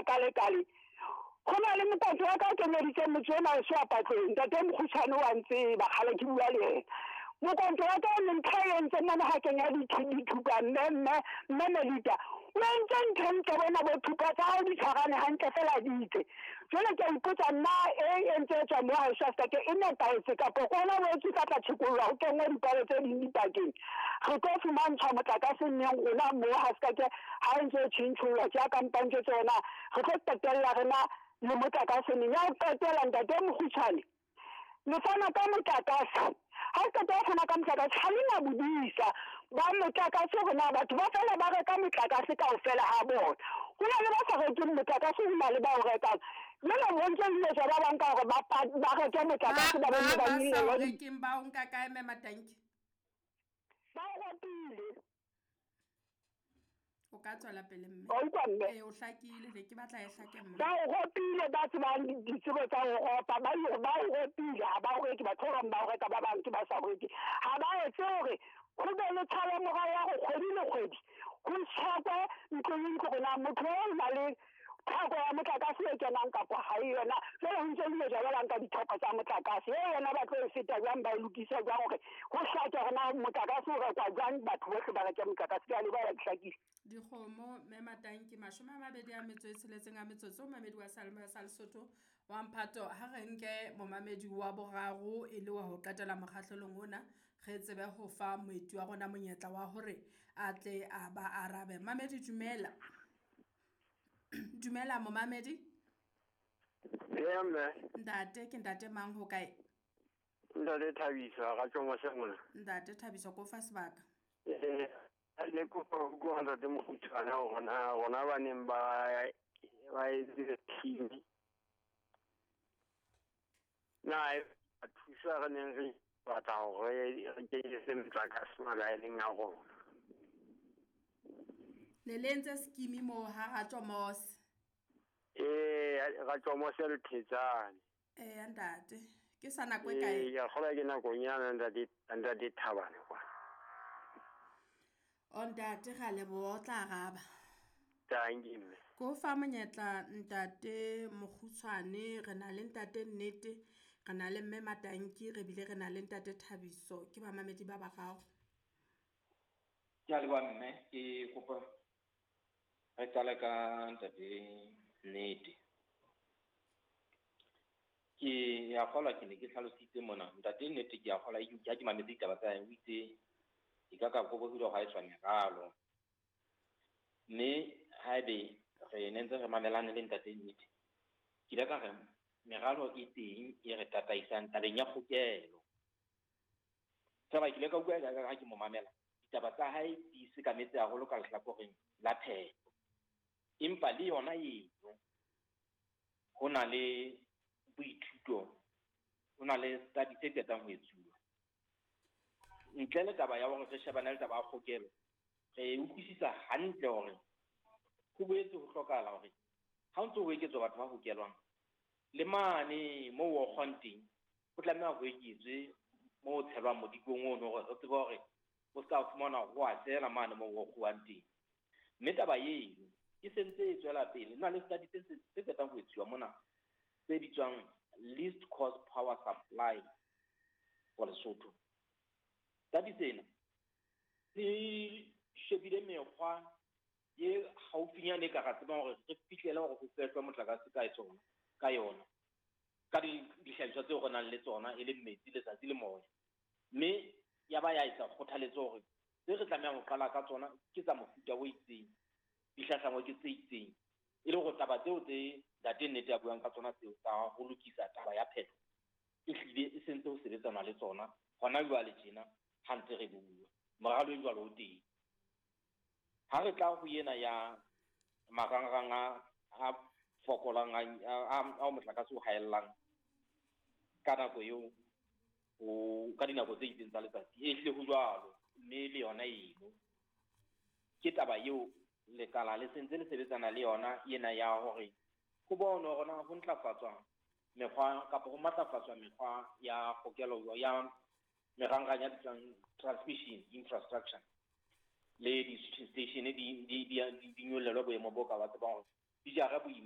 Kalekale. Go na le motate wa ka o kenyeditseng motse ona weso wa Patlong, ntate Mokgutshwane wa ntseba, kgale ke bua le yena. Mokonto wa ka o ne ntho e entseng mona ha kenya dithupa mme mme mme Melita. O entse ntho e ntle bona bo thupa tsa hao di tshwarane hantle fela di itse. Jwale ke a ipotsa nna e entse e tswa mo haeso ke e nepahetse kapa ke ona bo tse tla tjhekollwa ho kenngwe dipalo tse ding dipakeng. Re tlo fumantshwa motlakase neng rona mo ha se ka ke ha e ntse e tjhentjhollwa ke ya kampantse tsona. Re tlo qetella rena le motlakase neng. Ya ho qetela ntate Mokgutshwane, le fana ka motlakase. Ha o qeta ho fana ka motlakase, ha le na bodisa ba motlakase hore na batho ba fela ba reka motlakase kaofela ha bona. Ho na le ba sa rekeng motlakase, ho na le ba o rekang. Jwale ho ntse ho etswa ba bang ka hore ba reke motlakase, ba Ba ba ba ba sa o nyollelwa rekeng ba o nka kae mme Matanki? Ba o rekile. O ka tswela pele mme. Wa utlwa mme? Ee, o hlakile, ne ke batla e hlake mme. Ba o ropile ba tsebang ditsebo tsa ho ropa, ba o ropile, ha ba o reke, batho ba bang ba o reka, ba bang ke ba sa o reke. Ha ba etse hore ho be le tshalo morao ya hore kgwedi le kgwedi ho tshekwe ntlo le ntlo hore na motho o na le theko ya motlakase e kenang kapa ha e yona. Jwale ho ntse ho ile jwalo ba nka ditheko tsa motlakase e yona ba tlo e feta jwang, ba e lokisa jwang hore ho hlake hore na motlakase o rekwa jwang, batho bohle ba reke motlakase. Ke a leboha, ke hlakile. Dikgomo mme Matanki 26 a metsotso momamedi wa Seyalemoya sa Lesotho wa Mphato. Ha re nke momamedi wa boraro e le wa ho qetela mokgahlelong ona, re tsebe ho fa moeti wa rona monyetla wa hore a tle a ba arabe. Mamedi dumela. Dumela momamedi. Eya mme. Ntate ke ntate mang ho kae? Ntate Thabiso ga Tjomose mona. Ntate Thabiso ko fa sebaka. Le kopa ho utlwa ntate Mokgutshwane hore na rona ba neng ba etse team. Na e thusa re neng re batla hore re kenyetse motlakase malaeneng a rona. Ne le entse scheme moo ha Ratjomose? Ee, Ratjomose le Thetsane. Ee, ntate. Ke sa nako e kae? Ee, ke a kgolwa ke nakonyana ntate Thabane kwa. O ntate ra leboha, o tla araba. Thank you, mme. Ko fa monyetla ntate Mokgutshwane, re na le ntate Nnete, re na le mme Matanki, re bile re na le ntate Thabiso, ke bamamedi ba bararo. Ke a leboha mme, ke kopa re qale ka ntate Nnete. Ke a kgolwa ke ne ke hlalositse mona, ntate Nnete ke a kgolwa ha ke mametse ditaba tsa hae, o itse e ka ka kobo hore ha e tswa meralo. Mme haebe re ne ntse re mamelane le ntate Nnete, ke ile ka re meralo e teng e re tataisang tabeng ya kgokelo. Feela ke ile ka utlwa ha ke mo mamela, ditaba tsa hae di sekametse haholo ka lehlakoreng la phepo. Empa le yona eno ho na le boithuto, ho na le study tse qetang ho etsuwa. Ntle le taba ya hore re shebane le taba ya kgokelo, re utlwisisa hantle hore ho boetse ho hlokahala hore ha o ntso ho eketswa batho ba hokelwang, le mane moo o kgwang teng, ho tlameha ho eketswe moo o tshelwang modikong ono hore re tsebe hore o ska fumana ho a tsela mane moo o kguwang teng. Mme taba eno e sentse e tswela pele. Ho na le study tse qetang ho etsuwa mona tse bitswang least cost power supply for Lesotho. Study sena se shebile mekgwa e haufinyane e ka ra tsebang hore re fihlele hore ho fehlwa motlakase ka tsona, ka yona, ka dihlahiswa tseo re nang le tsona e leng metsi, letsatsi le moya. Mme ya ba ya etsa kgothaletso hore tse re tlamehang ho qala ka tsona ke tsa mofuta o itseng, di hlahlangwe ke tse itseng, e le hore taba tseo tse ntate Nnete a buang ka tsona tseo tsa ho lokisa taba ya phetho e hlile e sentse ho sebetsana le tsona hona jwale tjena ha ntse re bua. Moralo e jwalo o teng. Ha re tla ho ena ya marangrang a fokolang a motlakase o haellang ka nako eo, ka dinako tse itseng tsa letsatsi, e hlile ho jwalo, mme le yona eno ke taba eo lekala le sentse le sebetsana le yona ena ya hore ho bonwe hore na ho ntlafatswa mekgwa kapa ho matlafatswa mekgwa ya kgokelo ya merangrang ya bitswang transmission infrastructure le di-switching station di nyollelwa boemo bo ka ba tsebang hore di jara boima.